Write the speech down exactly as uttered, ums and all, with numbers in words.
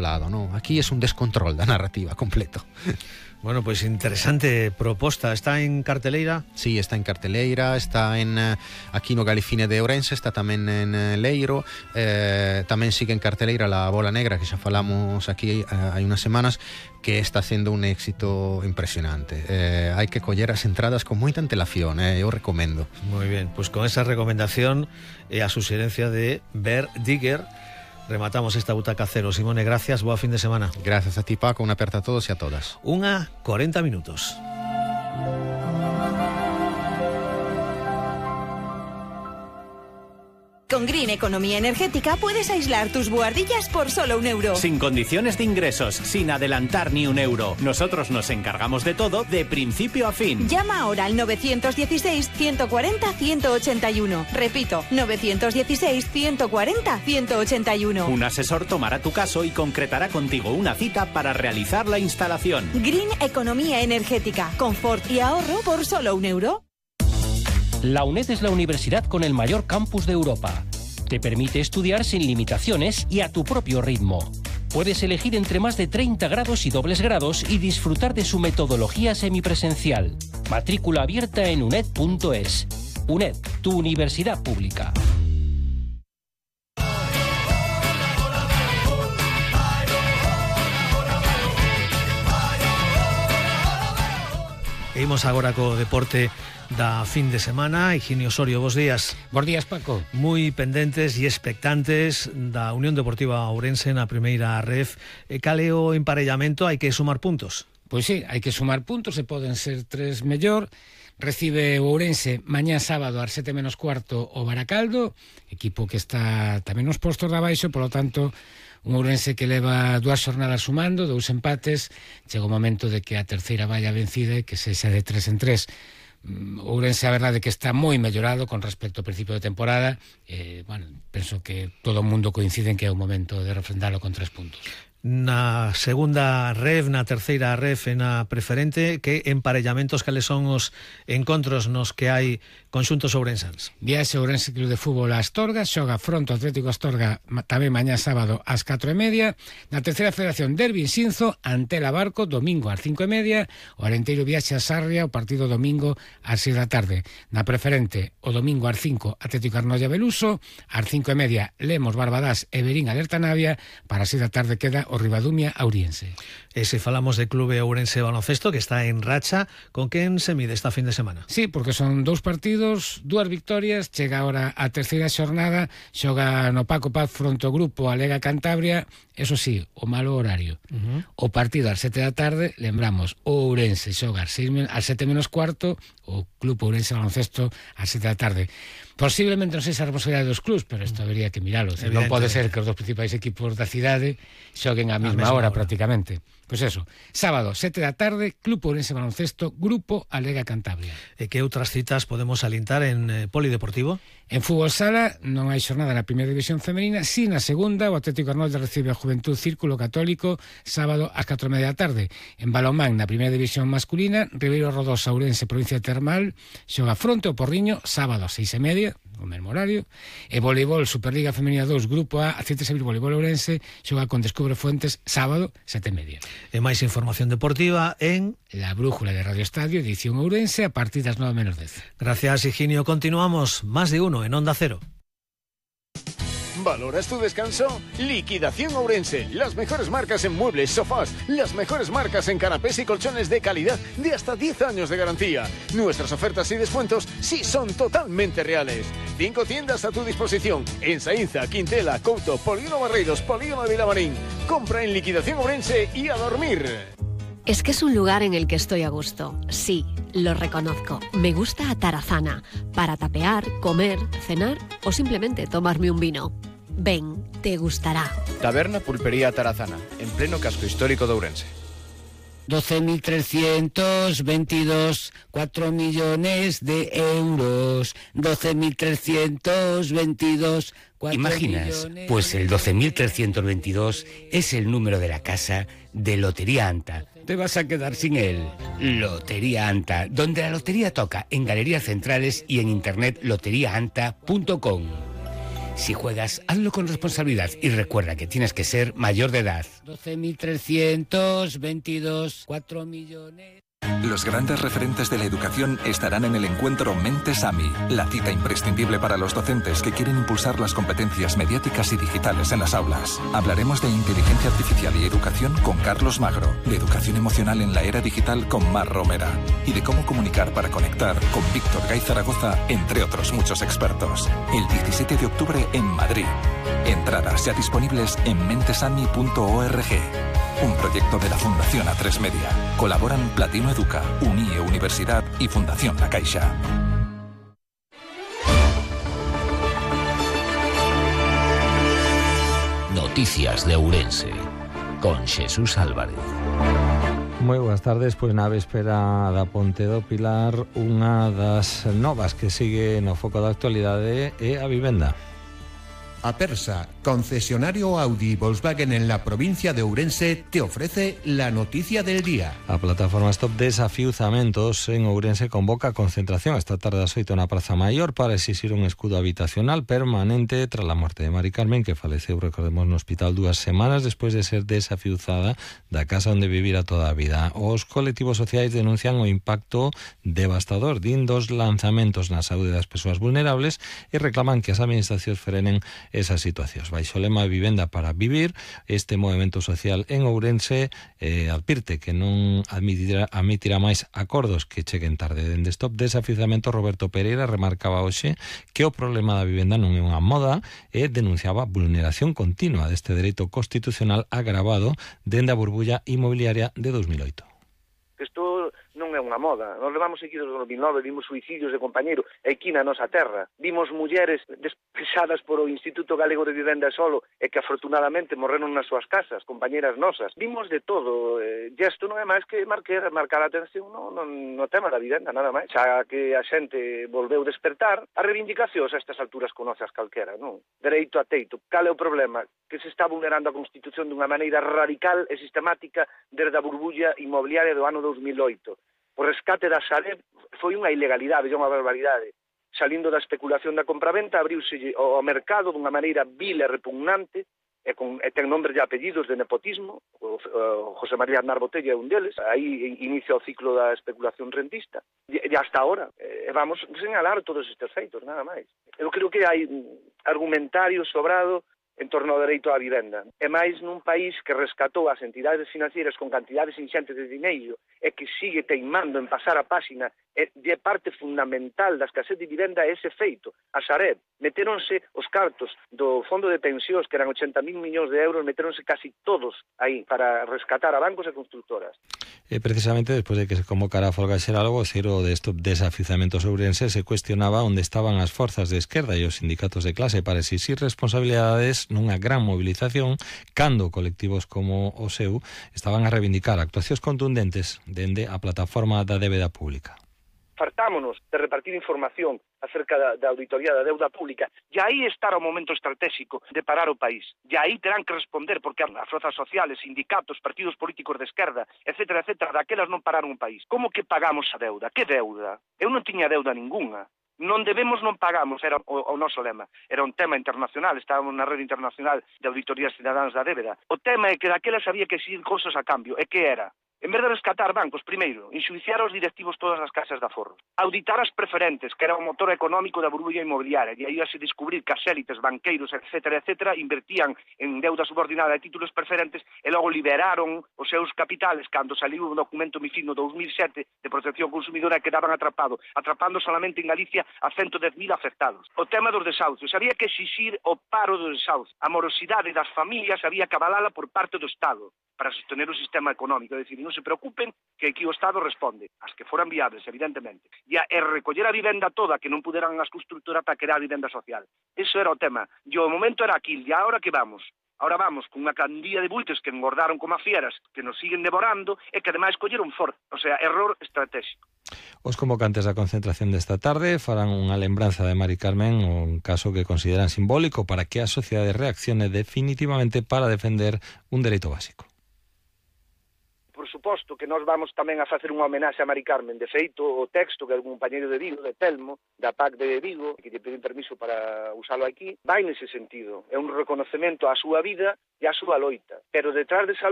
lado, ¿no? Aquí es un descontrol da narrativa completo. Bueno, pues interesante proposta. ¿Está en carteleira? Sí, está en carteleira, está en uh, aquí no Galicine de Ourense, está tamén en uh, Leiro, eh, tamén sigue en carteleira La Bola Negra, que xa falamos aquí uh, hai unas semanas, que está sendo un éxito impresionante. Eh, hai que coller as entradas con moita antelación, eh, eu recomendo. Muy bien, pues con esa recomendación e eh, a suxerencia de Ver Digger, rematamos esta butaca cero. Simone, gracias, boa fin de semana. Gracias a ti, Paco, unha aperta a todos e a todas. Unha cuarenta minutos. Con Green Economía Energética puedes aislar tus buhardillas por solo un euro. Sin condiciones de ingresos, sin adelantar ni un euro. Nosotros nos encargamos de todo, de principio a fin. Llama ahora al nueve uno seis, uno cuatro cero, uno ocho uno. Repito, nueve uno seis, uno cuatro cero, uno ocho uno. Un asesor tomará tu caso y concretará contigo una cita para realizar la instalación. Green Economía Energética. Confort y ahorro por solo un euro. La UNED es la universidad con el mayor campus de Europa. Te permite estudiar sin limitaciones y a tu propio ritmo. Puedes elegir entre más de treinta grados y dobles grados y disfrutar de su metodología semipresencial. Matrícula abierta en uned punto es. UNED, tu universidad pública. E imos agora co deporte da fin de semana. Higinio Osorio, bos días. Bos días, Paco. Moi pendentes e expectantes da Unión Deportiva Ourense na primeira ref. E cal é o emparellamento? Hai que sumar puntos? Pois sí, hai que sumar puntos, e poden ser tres mellor. Recibe o Ourense mañá sábado ás sete menos cuarto o Baracaldo, equipo que está tamén nos postos de abaixo, polo tanto, un Ourense que leva dúas xornadas sumando, dous empates. Chega o momento de que a terceira vaya vencida e que sexa de tres en tres. Ourense, a verdade, que está moi mellorado con respecto ao principio de temporada. Eh, bueno, penso que todo o mundo coincide en que é o momento de refrendalo con tres puntos. Na segunda ref, na terceira ref e na preferente, que emparellamentos, cales son os encontros nos que hai conxuntos ourensans? Viaxe Ourense Club de Fútbol a Astorga, xoga fronte ao Atlético Astorga tamén mañá sábado ás catro e media. Na terceira federación, Derbi Xinzo ante la Barco, domingo ás cinco e media. O Arenteiro viaxe a Sarria, o partido domingo ás seis da tarde. Na preferente, o domingo ás cinco, Atlético Arnoia Beluso, ás cinco e media, Lemos Barbadás e Verín Alerta Navia. Para as seis da tarde queda o Ribadumia Auriense. E se falamos de Clube Ourense Baloncesto, que está en racha, con quen se mide esta fin de semana? Sí, porque son dous partidos, dúas victorias, chega ahora a terceira xornada, xoga no Paco Paz fronte ao grupo a Lega Cantabria. Eso sí, o malo horario. Uh-huh. O partido ás sete da tarde, lembramos, o Ourense xoga ás sete menos cuarto, o Club Ourense Baloncesto ás sete da tarde. Posiblemente non sei a responsabilidade dos clubs, pero isto habería que miralo. Non pode ser que os dos principais equipos da cidade xoguen á mesma hora, hora prácticamente. Pois eso, sábado, sete da tarde, Club Ourense Baloncesto, Grupo Alega Cantabria. E que outras citas podemos alintar en eh, Polideportivo? En fútbol sala non hai xornada na primeira división femenina, si na segunda o Atlético Arnolde recibe a Juventud Círculo Católico sábado ás catro e media da tarde. En balonmán, na primeira división masculina, Ribeiro Rodós Ourense, provincia Termal, xoga fronte ao Porriño sábado ás seis e media, o mesmo horario. E voleibol Superliga Femenina dos, Grupo A, Aceite Sevilla Voleibol Ourense, xoga con Descubre Fuentes sábado sete e media. E máis información deportiva en La Brújula de Radio Estadio, edición Ourense, a partir das nove menos dez. Gracias, Higinio. Continuamos. Más de uno en Onda Cero. ¿Valoras tu descanso? Liquidación Ourense. Las mejores marcas en muebles, sofás. Las mejores marcas en canapés y colchones de calidad de hasta diez años de garantía. Nuestras ofertas y descuentos sí son totalmente reales. Cinco tiendas a tu disposición. En Saínza, Quintela, Couto, Polígono Barreiros, Polígono de Vilamarín. Compra en Liquidación Ourense y a dormir. Es que es un lugar en el que estoy a gusto. Sí, lo reconozco. Me gusta Atarazana. Para tapear, comer, cenar o simplemente tomarme un vino. Ven, te gustará. Taberna Pulpería Atarazana, en pleno casco histórico de Ourense. doce mil trescientos veintidós, cuatro millones de euros. doce mil trescientos veintidós, cuatro ¿Imaginas? millones... Pues el doce mil trescientos veintidós es el número de la casa de Lotería Anta. Te vas a quedar sin él. Lotería Anta, donde la lotería toca, en galerías centrales y en internet lotería anta punto com. Si juegas, hazlo con responsabilidad y recuerda que tienes que ser mayor de edad. doce mil trescientos veintidós, cuatro millones... Los grandes referentes de la educación estarán en el encuentro Mentes AMI, la cita imprescindible para los docentes que quieren impulsar las competencias mediáticas y digitales en las aulas. Hablaremos de inteligencia artificial y educación con Carlos Magro, de educación emocional en la era digital con Mar Romera y de cómo comunicar para conectar con Víctor Gay Zaragoza, entre otros muchos expertos. El diecisiete de octubre en Madrid. Entradas ya disponibles en mentesami punto org. Un proyecto de la Fundación A tres Media. Colaboran Platino Educa, Unie Universidad y Fundación La Caixa. Noticias de Ourense, con Jesús Álvarez. Moi boas tardes, pois na véspera da Ponte do Pilar, unha das novas que sigue no foco da actualidade é a vivenda. Apersa, concesionario Audi y Volkswagen en la provincia de Ourense, te ofrece la noticia del día. A plataforma Stop Desafiuzamentos en Ourense convoca concentración esta tarde ás oito na Praza Maior para exixir un escudo habitacional permanente tras a morte de Mari Carmen, que faleceu, recordemos, no hospital dúas semanas despois de ser desafiuzada da casa onde vivira toda a vida. Os colectivos sociais denuncian o impacto devastador din dos lanzamentos na saúde das persoas vulnerables e reclaman que as administracións frenen esas situacións. Baixo o lema Vivenda para Vivir, este movimento social en Ourense eh, advirte que non admitirá, admitirá máis acordos que cheguen tarde. Dende Stop Desafiuzamento, Roberto Pereira remarcaba hoxe que o problema da vivenda non é unha moda e denunciaba vulneración continua deste dereito constitucional agravado dende a burbulla inmobiliaria de dos mil oito. Isto non é unha moda. Nos levamos seguidos do dos mil nove, vimos suicidios de compañeiro aquí na nosa terra. Vimos mulleres despesadas por o Instituto Galego de Vivenda e Solo e que afortunadamente morreron nas súas casas, compañeras nosas. Vimos de todo. E isto non é máis que marcar, marcar a atención no, no, no tema da vivenda, nada máis. Xa que a xente volveu despertar, as reivindicacións a estas alturas conoces calquera, non? Dereito a teito. Cal é o problema? Que se está vulnerando a Constitución dunha maneira radical e sistemática desde a burbulla inmobiliaria do ano dos mil oito. O rescate da Sareb foi unha ilegalidade, é unha barbaridade. Salindo da especulación da compraventa, abriuse o mercado dunha maneira vil e repugnante, e, con, e ten nombres e apellidos de nepotismo. O, o José María Aznar Botella é un deles. Aí inicia o ciclo da especulación rentista. E, e hasta ahora, e vamos señalar todos estes feitos, nada máis. Eu creo que hai argumentario sobrado en torno ao dereito á vivenda. E máis nun país que rescatou as entidades financieras con cantidades inxentes de dineiro e que sigue teimando en pasar a páxina e de parte fundamental da escasez de vivenda é ese feito. A Sareb, meteronse os cartos do fondo de pensións, que eran ochenta mil millóns de euros, meteronse casi todos aí para rescatar a bancos e constructoras. E precisamente despois de que se convocara a folga xeral, o voceiro de Stop Desafiuzamentos Ourense se cuestionaba onde estaban as forzas de esquerda e os sindicatos de clase para exixir responsabilidades nunha gran movilización cando colectivos como o seu estaban a reivindicar actuacións contundentes dende a plataforma da débeda pública. Fartámonos de repartir información acerca da, da auditoría da deuda pública, e aí estará o momento estratégico de parar o país. E aí terán que responder, porque as forzas sociales, sindicatos, partidos políticos de esquerda, etcétera, etcétera, daquelas non pararon o país. Como que pagamos a deuda? Que deuda? Eu non tiña deuda ningunha. Non debemos, non pagamos, era o, o noso lema. Era un tema internacional, estábamos na rede internacional de auditorías cidadáns da débeda. O tema é que daquelas había que exigir cousas a cambio. E que era? En vez de rescatar bancos, primeiro, enxuiciar aos directivos todas as casas de aforro. Auditar as preferentes, que era o motor económico da burbulla inmobiliaria, e aí a se descubrir que as élites, banqueiros, etcétera, etcétera, invertían en deuda subordinada de títulos preferentes e logo liberaron os seus capitales cando saliu un documento MiFID no dos mil sete de protección consumidora e quedaban atrapados, atrapando solamente en Galicia a ciento dez mil afectados. O tema dos desahucios, había que exixir o paro dos desahucios. A morosidade das familias había que avalala por parte do Estado para sostener o sistema económico, é dicir, non se preocupen que aquí o Estado responde, as que foran viables, evidentemente, e a e recoller a vivenda toda que non puderan as constructoras para crear a vivenda social. Eso era o tema, e o momento era aquí, e agora que vamos? Ahora vamos con unha candía de buitres que engordaron como a fieras, que nos siguen devorando e que ademais colleron forte, o sea, error estratégico. Os convocantes da concentración desta tarde farán unha lembranza de Mari Carmen, un caso que consideran simbólico para que a sociedade reaccione definitivamente para defender un dereito básico. Por suposto que nós vamos tamén a facer unha homenaxe a Mari Carmen. De feito, o texto que algún compañeiro de Vigo, de Telmo, da P A C de Vigo, que lle pedín permiso para usalo aquí, vai nese sentido. É un reconocemento á súa vida e á súa loita. Pero detrás desa